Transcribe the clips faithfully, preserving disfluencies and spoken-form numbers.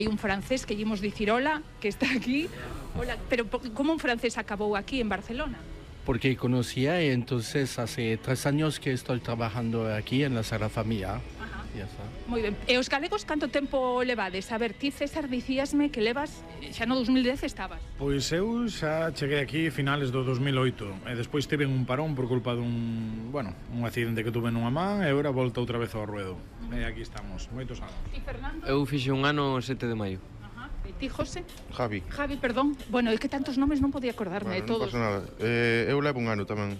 Hai un francés que llevamos dicir hola, que está aquí. Hola, pero ¿cómo un francés acabó aquí en Barcelona? Porque conocía y entonces hace tres años que estoy trabajando aquí en la Sagrada Familia. Ajá. Ya está. Moi ben. E os galegos canto tempo levades? A ver, ti, César, dicíasme que levas, xa no dos mil dez estabas. Pois eu xa cheguei aquí finales do dos mil oito e despois tive un parón por culpa dun, bueno, un accidente que tuve nunha man e agora volta outra vez ao ruedo. Uh -huh. E aquí estamos, moitos anos. E Fernando? Eu fixe un ano sete de maio. E ti, José? Javi. Javi, perdón. Bueno, é que tantos nomes non podía acordarme Bueno, de todos. non pasa nada. Eh, eu levo un ano tamén.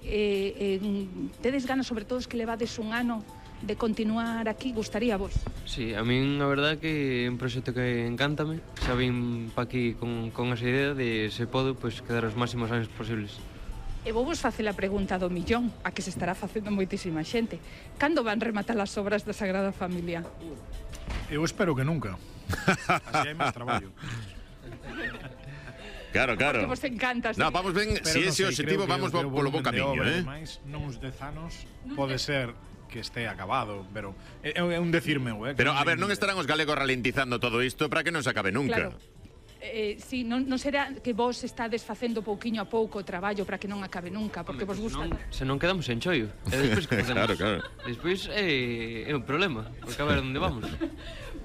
Eh, eh, tedes ganas, sobre todo, que levades un ano de continuar aquí, gustaría vos? Sí, a min a verdade que é un proxecto que encántame. Xa vim pa aquí con, con esa idea de, se podo, pois, quedar os máximos anos posibles. E vou vos facer a pregunta do millón, a que se estará facendo moitísima xente. Cando van rematar as obras da Sagrada Familia? Eu espero que nunca. Así hai máis traballo. Claro, claro. Porque vos encanta. No, vamos ben, Pero si non ese sei, objetivo creo que vamos o- que o polo bo volumen de camiño, obra, eh? ademais, nuns dez anos pode ser que este acabado, pero é, é un decir meu, eh? Pero, a ver, non estarán os galegos ralentizando todo isto para que non se acabe nunca. Claro. Eh, si, non, non será que vos estades facendo pouquiño a pouco o traballo para que non acabe nunca, porque vos gusta. Non, se non quedamos en choio. E despois que facemos? Claro, claro. Despois é, é un problema, porque a ver onde vamos.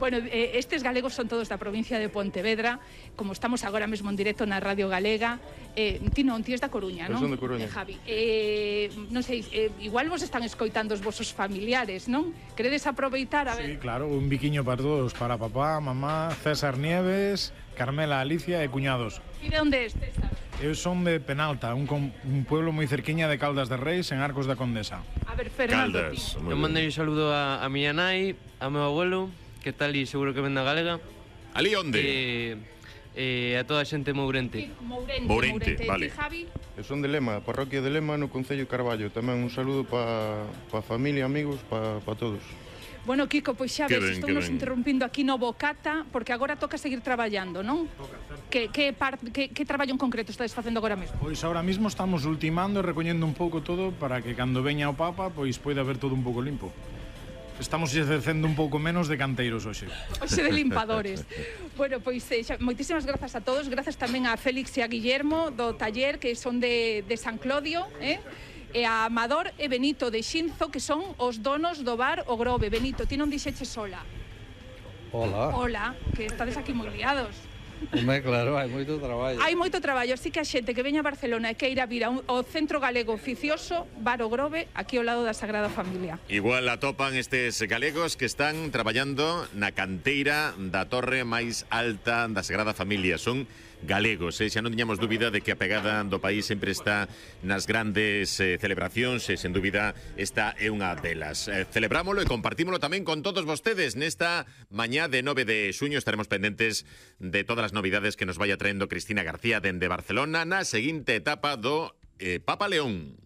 Bueno, eh, estes galegos son todos da provincia de Pontevedra, como estamos agora mesmo en directo na Radio Galega. Eh, ti non, ti és da Coruña, Eu non? son de Coruña. Eh, Javi, eh, non sei, eh, igual vos están escoitando os vosos familiares, non? Queredes aproveitar a Sí, ver? claro, un biquiño para todos, para papá, mamá, César Nieves, Carmela Alicia e cuñados. E de onde és, César? Eu son de Penalta, un, com, un pueblo moi cerquiña de Caldas de Reis, en Arcos da Condesa. A ver, Fernando, Caldas. ti. Moi Eu ben. mandei un saludo a, a miña nai, a meu abuelo, que tal e seguro que ven da galega. Ali onde? E, e a toda a xente mourente. Ti, Mourente, Mourente, Mourente. vale. Ti, Javi? Eu son de Lema, parroquia de Lema, no Concello de Carballo. Tamén un saludo para pa familia, amigos, para pa todos. Bueno, Kiko, pois xa Que ves, ben, estou que nos ben. interrompindo aquí no Bocata, porque agora toca seguir traballando, non? Que, que, par, que, que traballo en concreto estades facendo agora mesmo? Pois ahora mismo estamos ultimando e recoñendo un pouco todo para que cando veña o Papa, pois poida ver todo un pouco limpo. Estamos exercendo un pouco menos de canteiros hoxe. Oxe de limpadores. Bueno, pois eh, xa, moitísimas grazas a todos, grazas tamén a Félix e a Guillermo do taller, que son de, de San Clodio, eh? E a Amador e Benito de Xinzo, que son os donos do bar O Grove. Benito, ti non dixeches sola. Hola. Hola, que estades aquí moi liados. Home, claro, hai moito traballo. Hai moito traballo, así que a xente que veña a Barcelona e que ir a vir ao Centro Galego Oficioso, Bar O Grove, aquí ao lado da Sagrada Familia. Igual atopan estes galegos que están traballando na canteira da torre máis alta da Sagrada Familia. Son galegos, eh? Xa non tiñamos dúbida de que a pegada do país sempre está nas grandes eh, celebracións e, sen dúbida, esta é unha delas. Eh, celebrámolo e compartímolo tamén con todos vostedes. Nesta mañá de nove de xuño estaremos pendentes de todas as novidades que nos vaya traendo Cristina García dende Barcelona na seguinte etapa do eh, Papa León.